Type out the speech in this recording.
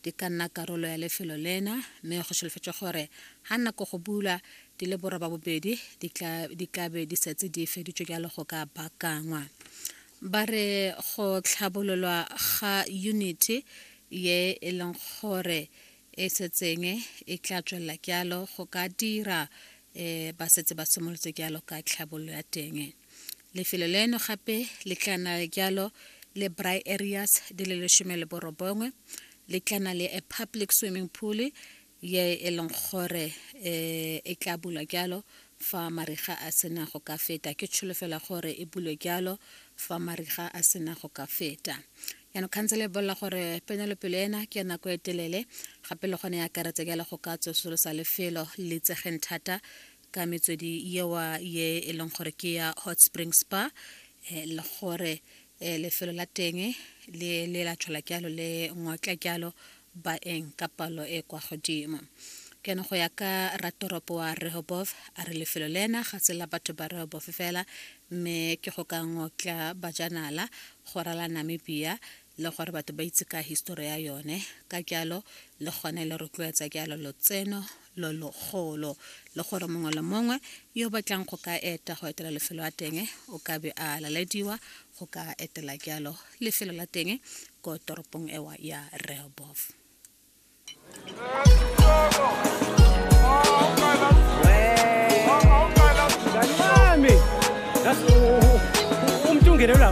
Di ka nna karolo ya lefelo lena, mme go solofetswe gore ga nako go bulwa di le 82 di tla be di setse di feditswe jalo go ka baakangwa. Ba re go tlhabololwa ga unity ye e leng gore e setseng e tla tswelela jalo go ka dira, ba setse ba simolotse jalo ka tlhabololo ya teng. Lefelo leno gape le tla nna jalo le braai areas di le 19, le tla nna le a public swimming pool ye e leng gore e tla bulwa jalo fa mariga a sena go ka feta. Ke tsholofelo gore e bulwe jalo fa mariga a sena go ka feta. Yaanong khansele e bolela gore ponelopele ena ke ya nako e telele, gape le gone e akaretsa jalo go ka tsosolosa lefelo le itsegeng thata ka metswedi yewa ye e leng gore ke ya Hot Spring Spa, le gore lefelo la teng le le la tshola jalo le ngotla jalo baeng ka palo e kwa godimo. Ke go ya ka ratoropo wa Rehoboth, a re lefelo lena ga se la batho ba Rehoboth fela, mme ke go ka ngotla bajanala go rala Namibia le gore batho ba itse ka histori ya yone. Ka jalo le gone le rotloetsa jalo lotseno lo logolo, le gore mongwe le mongwe yo batlang go ka eta go etela lefelo la teng o ka be a lalediwa go ka etela jalo lefelo la teng ko toropong ewa ya Rehoboth. Mngani wami, umntu ungenelwa.